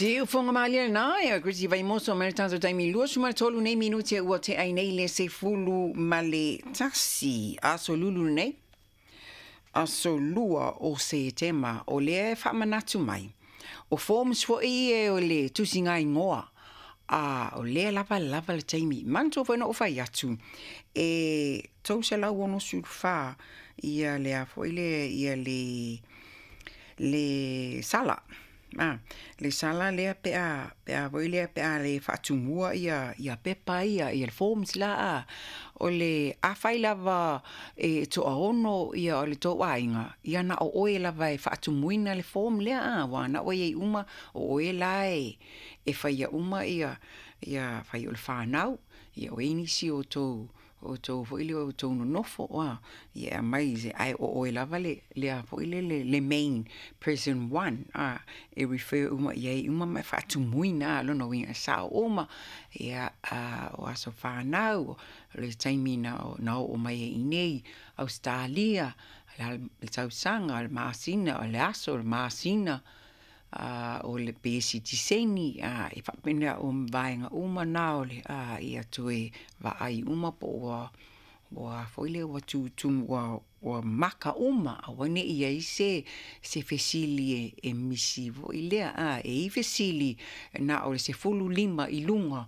Siufoga malie lena ia Chrissy Vaimoso mai le tatou taimi 23 nei minute ua tea ai nei le 11, aso lulu lenei, aso 2 o Setema. O lea e faamanatu mai o forms foi e o le tusiga igoa, a o lea lava lava le taimi. Manatua foi na ou fai atu e 364 ia le a foi le ia le le sala. A, le sala lea pe a foi lea pe a le faatumua ia ia pepa ia ia le forms la a. O le afai lava e toaono ia o le tou aiga, ia na o oe lava e faatumuina le form lea a, ua na oe ai uma o oe la e faia uma ia ia fai o le fanau, ia o ai nisi o tou foi lea o tou nonofo a, ia e aumai ae o oe lava le a foi le le main person one a, e refer uma i ai uma ma e faatumuina a lona uiga e sao uma ia o aso fanau, o le taimi na oo mai ai i inei Ausetalia, le tausaga, o le masina, o le aso, o le masina, o le pe sitiseni, e faapena o vaega uma na o le ia toe vaai uma po ua ua foi lea ua tutumu ua maka uma, aua ne i ai se fesili e misi foi lea a, e i ai fesili na o le 15 i luga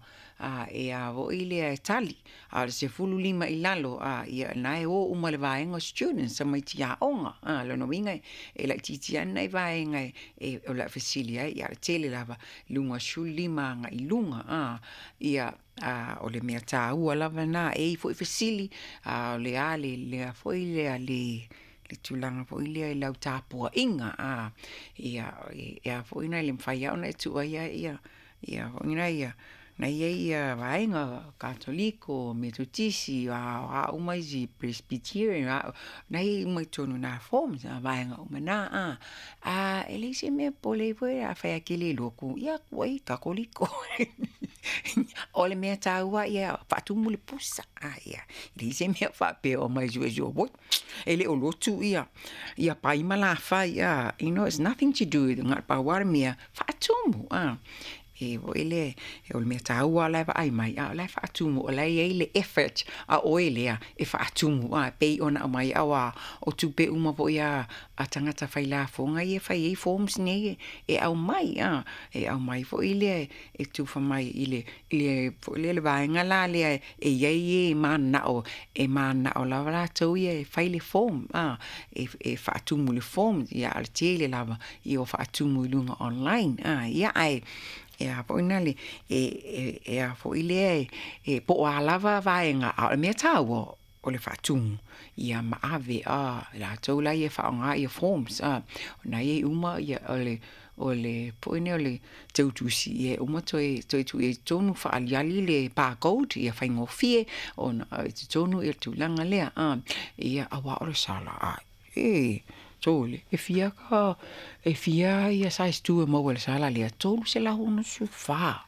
e a foi lea e tali, a o le 15 i lalo a, ia na e o uma le vaega o students tamaiti aoga a, lona uiga e laitiiti lava nai vaega e o le a fesili ai, ia o le tele lava i luga o le 15 agai i luga a, ia o le mea taua lava lena. E i ai foi fesili a o le a le foi lea le tulaga foi lea i lau tapuaiga a, ia e a foi na le mafai lava ona e tuuaia ia ia foi na ia na i ai ia vaega Katoliko, Metotisi, a uma isi Presbyterian, na i ai uma i totonu o na forms, a vaega uma na a. A e leai se mea e popole ai foi afai lava e te le iloa ku, ia tuu ai Katoliko. O le mea taua ia faatumu le pusa a, ia e leai se mea faapea o omai e suesue, oi e le o lotu ia ia pai ma lafai a, you know it's nothing to do with na o le pau lava le mea faatumu a. E foi le o le mea taua la e vaai mai, a o la e faatumu, o la e i ai le effort a oe lea e faatumu a, pei ona aumai aua o tupe uma foi a tagata failafoga ia e fai ai forms nei e aumai a, e aumai foi lea e tufa mai i le foi lea le vaega la lea e i ai e mananao e mananao lava latou ia e fai le form a, e faatumu le form ia a o le tele lava ia ua faatumu i luga online a, ia ae e a foi na le e a foi lea e po o a lava vaega, a o le mea taua o le faatumu ia ma ave a latou la ia e faaaoga ia forms a, o na i ai uma ia o le foi lea o le teutusi ia e uma toe tuu i ai i totonu faaaliali le barcode ia faigofie ona i totonu ia le tulaga lea a, ia aua o le sala a e sole e fia ka e fia ia size 2 e maua i le sala lea 364.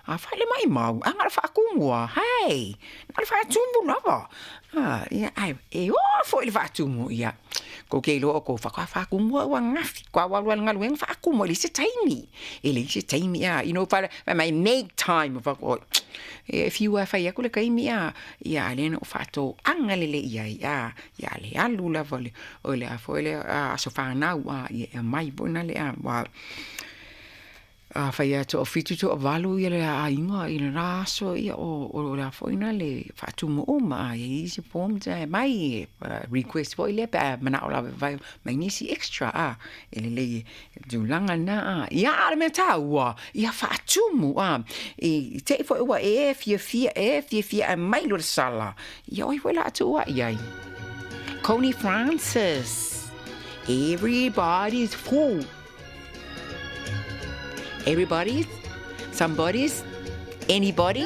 A fai le maimau, a na o le faatumu lava, hei, na o le faatumu lava. A, ia, ae e oo foi i le faatumu, ia, kou te iloa o kou faatoa faatumu au ananafi, faatoa ou alu lava i le galuega faatumu, e leai se taimi, e leai se taimi, a, you know, fai mai, make time, ou fai atu, oi, e fiu lava e fai atu le taimi, a, ia, a o lea na ou faatoaga lelei i ai, a, ia le alu lava o le a foi lea aso fanau, a, ia e aumai foi na le a, ua afai lava e toafitu toavalu ia le aiga i lena aso, ia o le a foi lena le faatumu uma, a i ai isi forms e aumai, request foi lea pe a manao lava e fai mai nisi extra a, e lelei e tulaga lena a. Ia a o le mea taua, ia faatumu a, i te i foi ua e fiafia e fiafia e aumai loa le sala, ia o ai foi o le a tuuai ai. Connie Francis, Everybody's Fool. Everybody's, somebody's, anybody.